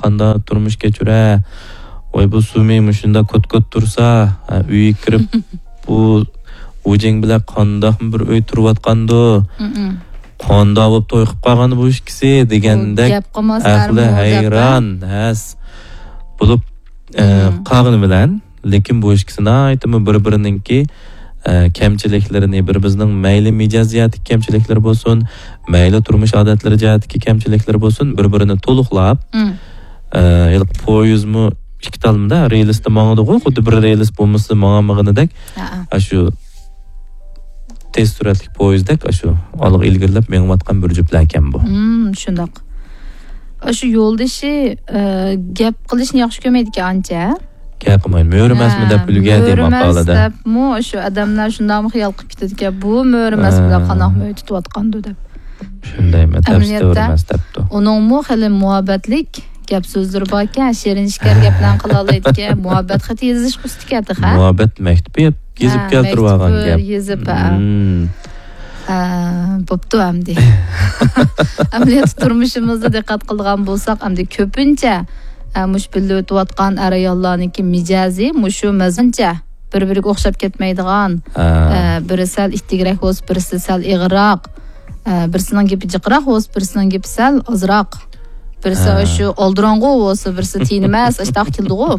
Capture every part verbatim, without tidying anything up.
قانداق تۇرمۇش كەچۈرە؟ ۋاي، بۇ سۇمى مۇشۇنداق كوت-كوت تۇرسا، ھە، ئۆيگە كىرىپ، بۇ ۋۇجېڭ بىلەن قانداقمۇ بىر ئۆي تۇرۇۋاتقاندۇ؟ مم. قانداق بولۇپ توي قىلىپ قالغان بۇ ئىككىسى دېگەندەك گەپ قىلماس ئەھلى ھەرمۇ ھەيران، ھەس بولۇپ، ئە، مم. قالغىنى بىلەن، لېكىن بۇ ئىككىسى ناھايىتىمۇ بىر-بىرىنىڭكى، ئە، كەمچىلىكلىرىنى، بىر-بىرىنىڭ مەيلى مىجەز جەھەتتىكى كەمچىلىكلىرى بولسۇن، مەيلى تۇرمۇش ئادەتلىرى جەھەتتىكى كەمچىلىكلىرى بولسۇن، بىر-بىرىنى تولۇقلاپ، مم. ئە، ھېلىقى پويىزمۇ ئىككى تالمىدا رېلىستا ماڭىدىغۇ، خۇددى بىر رېلىس بولمىسا ماڭالمىغىنىدەك. ھەئە. ئاشۇ تېز سۈرئەتلىك پويىزدەك ئاشۇ ئالغا ئىلگىرىلەپ مېڭىۋاتقان بىر جۈپلەركەن بۇ. مم، شۇنداق. ئاشۇ يولدىشى، ئە، گەپ قىلىشنى ياخشى كۆرمەيدىكەن ئانچە. گەپ قىلمايدۇ. مۆرە ئەمەسمۇ دەپ ھە، ئۈلگەردى مۆرە ئەمەس ماقالىدە. دەپمۇ شۇ ئادەملەر شۇنداقمۇ خىيال قىلىپ كېتىدىكەن، بۇ مۆرە ئەمەس ھە. بىلەن قانداقمۇ ئۆي تۇتۇۋاتقاندۇ دەپ. شۇندايمۇ، تەپسىتە ئەمەلىيەتتە مۆرە ئەمەس دەپتۇ. ئۇنىڭمۇ خېلى مۇھەببەتلىك گەپ سۆزلىرى باركەن، شېرىن شېكەر گەپلەرنى قىلالايدىكەن، مۇھەببەت خېتى يېزىشقا ئۇستا ئىكەن تېخى. مۇھەببەت مەكتۇبى يېزىپ ھە، كەلتۈرۈۋالغان مەكتۇبى گەپ. يېزىپ، ھە. مم. ھە، بوپتۇ ئەمدى. ئەمەلىيەتتە تۇرمۇشىمىزدا دىققەت قىلىدىغان بولساق، ئەمدى كۆپىنچە، ھە، مۇشۇ بىللە ئۆتۈۋاتقان ئەر-ئاياللارنىڭكى مىجەزى مۇشۇ مەزمۇنچە. بىر-بىرىگە ئوخشاپ كەتمەيدىغان، ھە. ئە، بىرى سەل ئىتتىكرەك بولسا، بىرسى سەل ئېغىرراق، ئە، بىرسىنىڭ گېپى جىقراق بولسا، بىرسىنىڭ گېپى سەل ئازراق، بىرسى ھە. شۇ ئالدىراڭغۇ بولسا، بىرسى تىنىماس، ئاشتاق كېلىدىغۇ.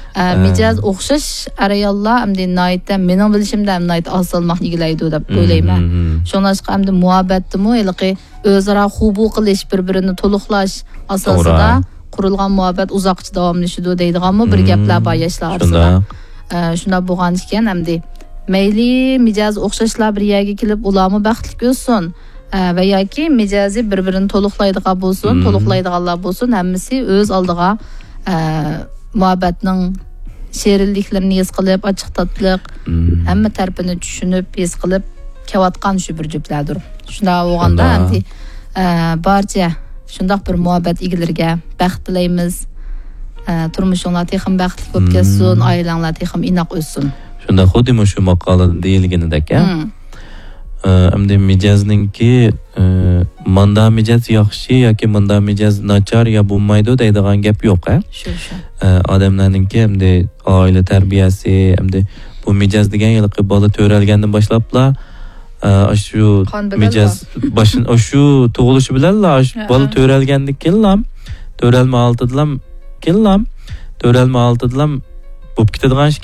ئە، ھە. مىجەز ئوخشاش ئەر-ئاياللار ئەمدى ناھايىتى، مېنىڭ بىلىشىمدە، ئەمدى ناھايىتى ئاز سالماقنى ئىگىلەيدۇ دەپ مم، ئويلايمەن. مم، مم. شۇڭلاشقا ئەمدى مۇھەببەتتىمۇ ھېلىقى ئۆزئارا خوبۇ قىلىش، بىر-بىرىنى تولۇقلاش ئاساسىدا توغرا. قۇرۇلغان مۇھەببەت ئۇزاققىچە داۋاملىشىدۇ دەيدىغانمۇ بىر مم، گەپلەر بار ياشلار ئارىسىدا. شۇنداق. ئە، شۇنداق بولغان ئىكەن، ئەمدى مەيلى مىجەزى ئوخشاشلار بىر يەرگە كېلىپ، ئۇلارمۇ بەختلىك ئۆتسۇن. ئە، ۋە ياكى مىجەزى بىر-بىرىنى تولۇقلايدىغان بولسۇن، مم. تولۇقلايدىغانلار بولسۇن، ھەممىسى ئۆز ئالدىغا، ئە، مۇھەببەتنىڭ شېرىنلىكلىرىنى ھېس قىلىپ، ئاچچىق تاتلىق، مم. ھەممە تەرىپىنى چۈشىنىپ، ھېس قىلىپ كېلىۋاتقان شۇ بىر جۈپلەردۇر. شۇنداق بولغاندا شۇنداق. ئەمدى، ئە، بارچە شۇنداق بىر مۇھەببەت ئىگىلىرىگە بەخت تىلەيمىز. ئە، تۇرمۇشۇڭلار تېخىمۇ بەختلىك بولۇپ مم. كەتسۇن، ئائىلەڭلار تېخىمۇ ئىناق ئۆتسۇن. شۇنداق، خۇددى مۇشۇ ماقالىدا دېيىلگىنىدەك، ھە؟ مم. ئە، ئەمدى مىجەزنىڭكى، ئە، ماندا مىجەز ياخشى ياكى ماندا مىجەز ناچار يا بولمايدۇ دەيدىغان گەپ يوق، ھە؟ شۇ، شۇ. ئە، ئادەملەرنىڭكى ئەمدى ئائىلە تەربىيەسى، ئەمدى بۇ مىجەز دېگەن ھېلىقى بالا تۆرەلگەندىن باشلاپلا، ئە، ئاشۇ قان بىلەن مىجەز بار. باشن-، ئاشۇ تۇغۇلۇشى بىلەنلا، ئاشۇ ھە، بالا ھە. تۆرەلگەندىن كېيىنلا، تۆرەلمە ھالىتىدىلا كېيىنلا، تۆرەلمە ھالىتىدىلا بولۇپ كېتىدىغان ئىش